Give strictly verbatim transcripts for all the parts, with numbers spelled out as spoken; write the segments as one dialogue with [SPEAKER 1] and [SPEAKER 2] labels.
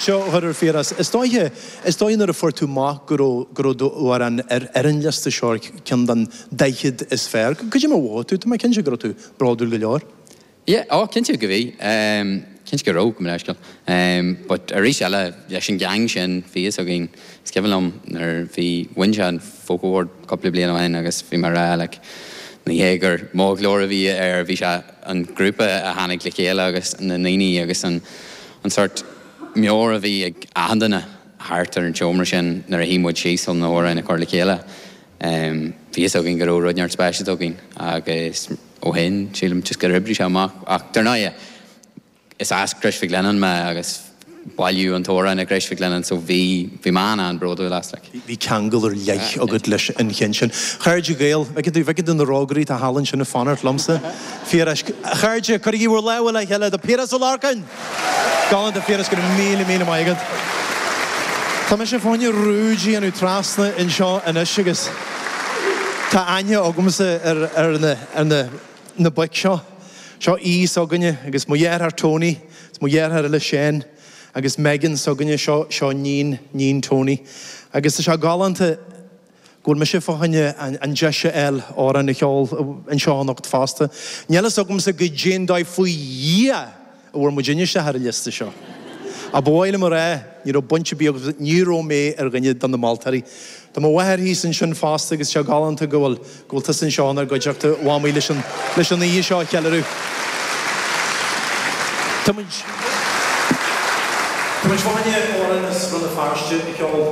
[SPEAKER 1] Seo a chur ar Phiaras. Is dóiche, is dóigh nuair a fuair tú amach go raibh, go raibh d'amhrán ar, ar an liosta seo, ar ceann den daichead is fearr. Cad é mar a mhothaigh tú? Tá mé cinnte go raibh tú bródúil go leor.
[SPEAKER 2] Yeah, ó, cinnte go bhí. Cinnte go raibh, gabh mo leithscéal. But arís eile, leis an gang sin, bhí fhios againn, is cuimhin liom nuair bhí, bhain sé an Folk Award cúpla bliain ó shin agus bhí mé a rá like, ní hé gur mo ghlór a bhí air, bhí sé an grúpa a tháinig le chéile agus na ndaoine agus an, an sort meabhair a bhí ag achan duine thart ar an tseomra sin nuair a shuigh muid síos chun na hamhráin a chur le chéile. Bhí fhios againn go raibh rud neart speisialta againn agus ó shin sílim just gur oibrigh sé amach ach dar ndóigh is as Crois Mhic Lionnáin mé agus bailíodh an t-amhrán i gCrois Mhic Lionnáin so bhí bhí mé an-bhródúil as like.
[SPEAKER 1] Bhí ceangal ar leith agat leis an cheann sin. Chairde Gael, bhfeiceann tú, bhfeiceann tú na rógairí atá thall ansin ag fanacht liomsa. Phiarais, a chairde, cuirigí bhur lámha le chéile do Piaras Ó Lorcáin! Galánta Phiaras, go raibh míle míle maith agat. Tá mise fá choinne rúid a dhéanamh trasna anseo anois agus tá aithne agamsa ar, ar na, ar na, na boic seo. Seo aoi s'againne agus mo dheartháir Tony, is mo dheartháir eile Shane agus Megan s'againne, seo, seo níon, níon Tony. Agus tá sé galánta go bhfuil mise fá choinne an, an deis a fháil amhrán a cheol anseo anocht fosta. Níl fhios agamsa goidé an dóigh faoi Dhia a bhfuair muid isteach ar an liosta seo. Ach ba mhaith liom a rá, ní raibh baint ar bith agamsa, ní raibh mé ar dhuine de na moltóirí. Tá mo mháthair thíos ansin fosta agus sé galánta go bhfuil, go bhfuil tusa anseo inár gcuideachta, a mhamaí, leis an, leis an oíche seo a cheiliúradh. Tá muid, tá muid fá choinne amhrán as Rann na Feirste a cheol.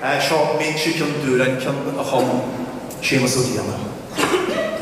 [SPEAKER 1] Seo M'Inse Chionn Dúráin, ceann a chum Séamus Ó Grianna.